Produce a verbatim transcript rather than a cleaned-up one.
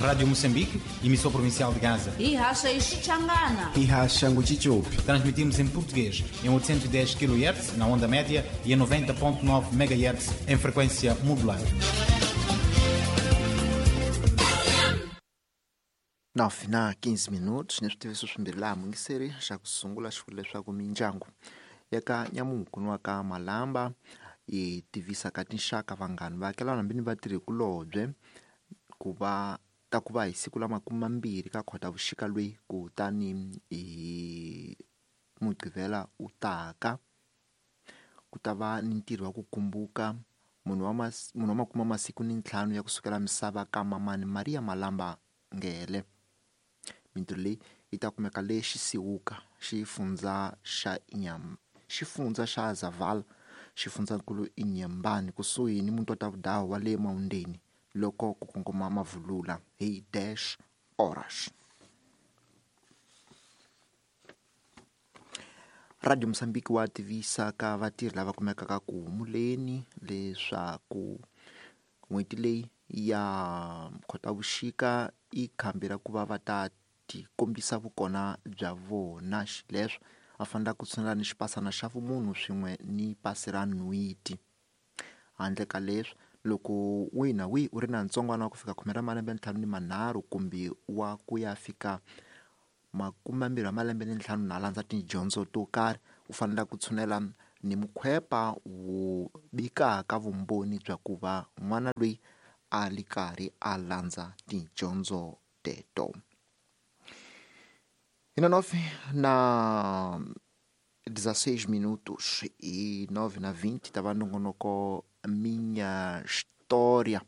Rádio Moçambique, emissora provincial de Gaza. Ihasha Ixichangana. Ihasha Nguchichupi. Transmitimos em português em oitocentos e dez quilohertz na onda média e em noventa ponto nove megahertz em frequência modulada. nove na quinze minutos neswitiviso swimbirhi laha mungiseri xa ku sungula xi vula leswaku mindyangu ya ka Nyamuku wa ka Malamba yi tivisa ka tinxaka vanghana vaakelana hambi ni vatirhikulobye ku va ta ku va hi siku la makume mambirhi ka Khotavuxika loyi kutani hi Mugqivela u taka ku ta va ni ntirho wa ku kumbuka munhu wa mas, munhu wa makume masiku ni ntlhanu ya kusukela misava ka mamani Maria Malamba Ngele. Mintirho leyi yi ta kumeka le Xisiwuka xifundza xa Inyam xifundza xa Zavala xifundzankulu Inyambani kusuhi ni muti wa Tavudawu wa le Maundeni loko ku kongoma Mavulula hi dash horas. Radio Mozambique wa tivisa ka vatirhi lava kumekaka ku humuleni leswaku n'hweti leyi ya Khotavuxika i khambi ra ku va va ta tikombisa vukona bya vona xileswo va fanele ku tshunela ni xipasana xa vumunhu swin'we ni pasi ra nhweti. Handle ka leswi loko wihi na wihi u ri na ntsongwana wa ku fika khume ra malembe ntlhanu ni manharhu kumbe wa ku ya fika makume mambirhi wa malembe ni ntlhanu na landza tidyondzo to karhi u fanele ku tshunela ni mukhwepa wo bikaka vumbhoni bya ku va n'wana loyi a li karhi a landza tidyondzo teto. Hi na nove na dezesseis minutos e nove na vinte tava nongonoko Minha História.